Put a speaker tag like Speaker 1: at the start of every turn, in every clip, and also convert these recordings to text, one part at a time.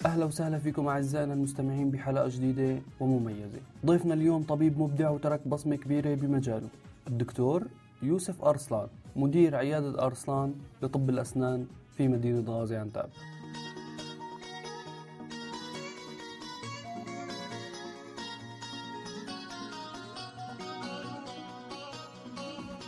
Speaker 1: أهلا وسهلا فيكم أعزائنا المستمعين بحلقة جديدة ومميزة. ضيفنا اليوم طبيب مبدع وترك بصمة كبيرة بمجاله، الدكتور يوسف أرسلان، مدير عيادة أرسلان لطب الأسنان في مدينة غازي عنتاب.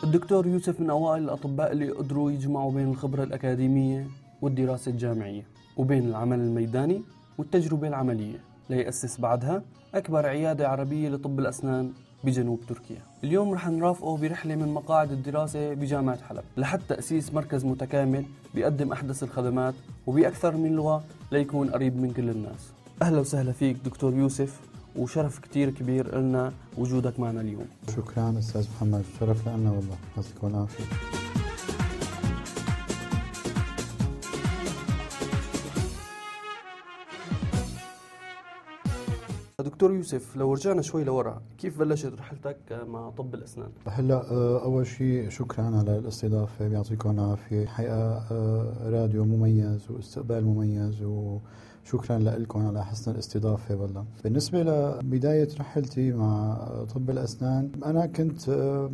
Speaker 1: الدكتور يوسف من أوائل الأطباء اللي قدروا يجمعوا بين الخبرة الأكاديمية والدراسة الجامعية وبين العمل الميداني والتجربة العملية، ليأسس بعدها أكبر عيادة عربية لطب الأسنان بجنوب تركيا. اليوم رح نرافقه برحلة من مقاعد الدراسة بجامعة حلب لحد تأسيس مركز متكامل بيقدم أحدث الخدمات وبأكثر من لغة ليكون قريب من كل الناس. أهلا وسهلا فيك دكتور يوسف، وشرف كتير كبير لنا وجودك معنا اليوم.
Speaker 2: شكرا أستاذ محمد، شرف لنا والله، يعطيك العافية.
Speaker 1: دكتور يوسف، لو رجعنا شوي لورا، كيف بلشت رحلتك مع طب الأسنان؟
Speaker 2: هلا أول شيء شكرا على الاستضافة، بيعطيكم العافية. حقيقة راديو مميز واستقبال مميز، وشكرا لكم على حسن الاستضافة والله. بالنسبة لبداية رحلتي مع طب الأسنان، أنا كنت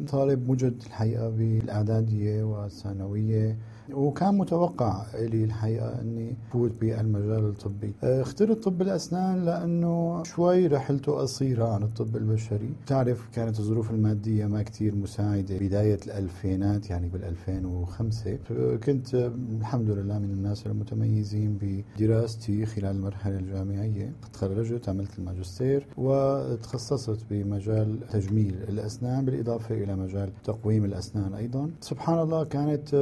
Speaker 2: طالب مجد الحقيقة بالإعدادية والثانوية، وكان متوقع لي الحقيقة أني فوت بالمجال الطبي. اخترت طب الأسنان لأنه شوي رحلته قصيرة عن الطب البشري. تعرف كانت الظروف المادية ما كتير مساعدة بداية الألفينات، يعني بال2005. كنت الحمد لله من الناس المتميزين بدراستي خلال المرحلة الجامعية. تخرجت، عملت الماجستير وتخصصت بمجال تجميل الأسنان بالإضافة إلى مجال تقويم الأسنان أيضا. سبحان الله كانت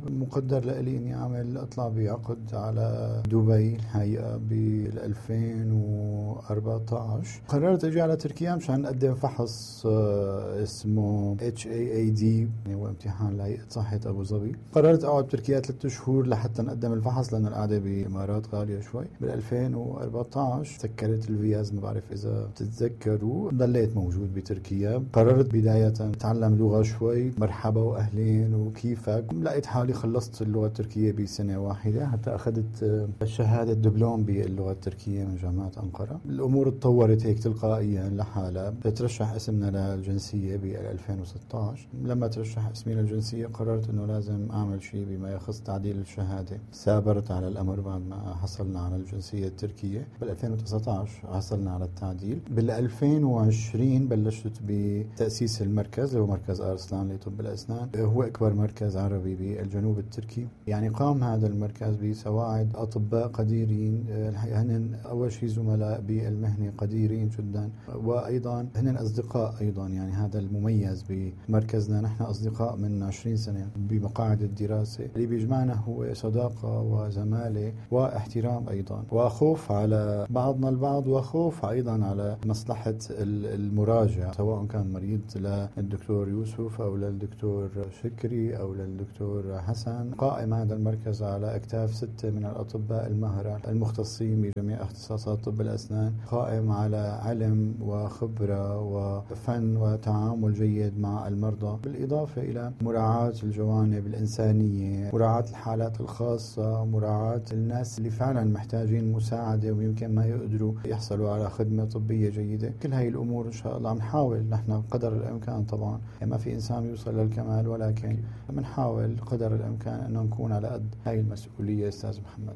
Speaker 2: مقدر لي إني أطلع بعقد على دبي الحقيقة بال2014. قررت أجي على تركيا مشان أقدم فحص اسمه HAAD، هو امتحان لهيئة صحة أبو ظبي. قررت أقعد بتركيا 3 شهور لحتى نقدم الفحص، لأن القعدة بالإمارات غالية شوي. بال2014 سكرت الفيز، ما بعرف إذا بتتذكروا. ضليت موجود بتركيا. قررت بداية أتعلم لغة شوي، مرحبا وأهلين وكيفك. لقيت حالي خلصت اللغة التركية بسنة واحدة، حتى أخذت شهادة دبلوم باللغة التركية من جامعة أنقرة. الأمور تطورت هيك تلقائيا لحالها. ترشح اسمنا للجنسية بال2016. لما ترشح اسمي للجنسية قررت أنه لازم أعمل شيء بما يخص تعديل الشهادة. سابرت على الأمر بعد ما حصلنا على الجنسية التركية. بال2019 حصلنا على التعديل. بال2020 بلشت بتأسيس المركز، هو مركز أرسلان لطب الأسنان. هو أكبر مركز عربي بالجنوب التركي. يعني قام هذا المركز بسواعد أطباء قديرين، هن أول شيء زملاء بالمهنة قديرين جدا، وأيضا هن أصدقاء أيضا. يعني هذا المميز بمركزنا، نحن أصدقاء من 20 سنة بمقاعد الدراسة. اللي بيجمعنا هو صداقة وزمالة واحترام أيضا، وخوف على بعضنا البعض، وخوف أيضا على مصلحة المراجع، سواء كان مريض للدكتور يوسف أو للدكتور شكري أو للدكتور حسن. قائم هذا المركز على أكتاف 6 من الأطباء المهرة المختصين بجميع اختصاصات طب الأسنان، قائم على علم وخبرة وفن وتعامل جيد مع المرضى، بالإضافة إلى مراعاة الجوانب الإنسانية، مراعاة الحالات الخاصة، مراعاة الناس اللي فعلا محتاجين مساعدة ويمكن ما يقدروا يحصلوا على خدمة طبية جيدة. كل هاي الأمور إن شاء الله بنحاول نحن قدر الإمكان. طبعا ما في إنسان يوصل للكمال، ولكن بنحاول قدر الإمكان أن نكون على قد هاي المسؤولية أستاذ محمد.